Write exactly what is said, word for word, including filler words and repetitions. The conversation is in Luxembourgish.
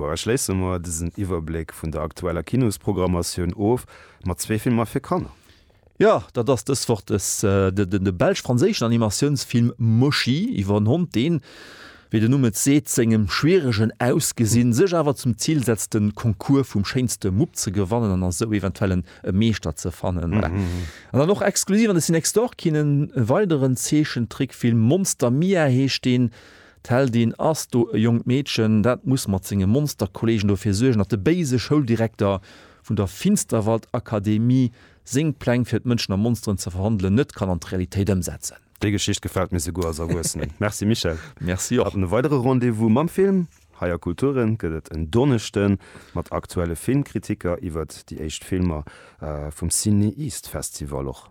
A schléisse mer dësen Iwwerbléck vun der aktueller Kinosprogrammatioun of mat zwee Filmer fir Kanner. Jo, dat ass dës Woch des, de, de belsch-franséischen Animatiounsfilm Moshi iwwer en Hond, deen, wéi den Numm et seet, sengem schwieregen Ausgesinn sech awer zum Zil setzt, de Concours vum schéinste Mupp ze gewannen an esou eventuell e Meeschter ze fannen. Voilà. An dann och exklusiv an de Cinextore-Kinen e weideren Zeechentrickfilm, Monster Mia heescht deen. D'Heldin ass do e jonkt Meedchen, dat muss mat senge Monsterkolleegen dofir suergen, datt de béise Schouldirekter vun der Finsterwald-Akademie seng Pläng fir d'Mënschen a Monsteren ze verwandelen net kann an d'Realitéit ëmsetzen. Déi Geschicht gefält mir souguer als Erwuessenen. Merci Michèle. Merci och. An e weidere Rendez-vous mam Film hei a Kulturen gëtt et en Donneschde mat aktuelle Filmkritiker iwwert déi éischt Filmer vum CinEast Festival och.